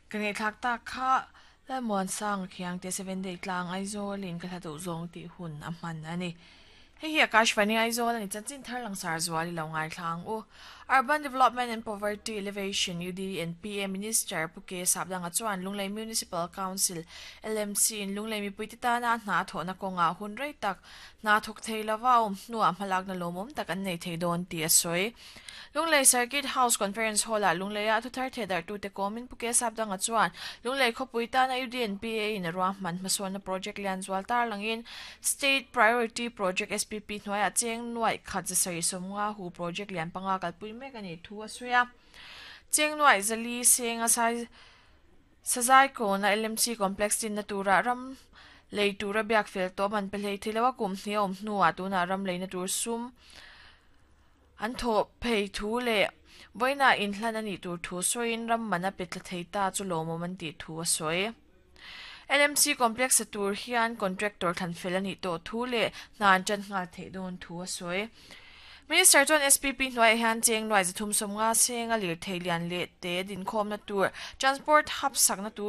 Ka ngaihthlak tak kha Lalmuansanga Khiangte Sevenday tlang Aizawlin ka hla duh zawng tih hun a hman a ni. Hei hi Akashvani Aizawl a ni chanchin thar langsar zual i lo ngaithla ang u. Urban Development and Poverty Elevation, UDNPA, Minister Pu K Sapdanga chuan Lunglei Municipal Council, LMC, in Lunglei mipuite tana a hna a thawhna kawngah hun rei tak hna thawk thei lova a awm hnuah hmalakna lawmawm tak an nei thei dawn tih a sawi. Lunglei Circuit House Conference Hall-ah Lungleia thuthar thehdarhtute kawmin Pu K Sapdanga chuan Lunglei khawpui tana UDNPA in a ruahman hmasawnna project lian zual tarlangin State Priority Project, SPP, hnuaiah cheng nuaih khat 750 hu project lian panga kalpui mek a nih thu a sawi a. Cheng nuaih 400 senga sai Sazai kawna LMC Complex dinna turah ram lei tura biak fel tawh man pe hlei thei lo a, kum hnih a awm hnuah tunah ram leina tur sum An thawh phei thu leh vawiinah inhlan a nih tur thu sawiin ram man a pe tla thei ta chu lawmawm an tih thu a sawi. LMC Complex a tur hian contractor thlan fel a nih tawh thu leh hna an tan nghal theih dawn thu a sawi. Minister chuan SPP hnuaiah hian cheng nuai 350 senga lirthei lian leh te dinkhawmna tur, transport hub sakna tur,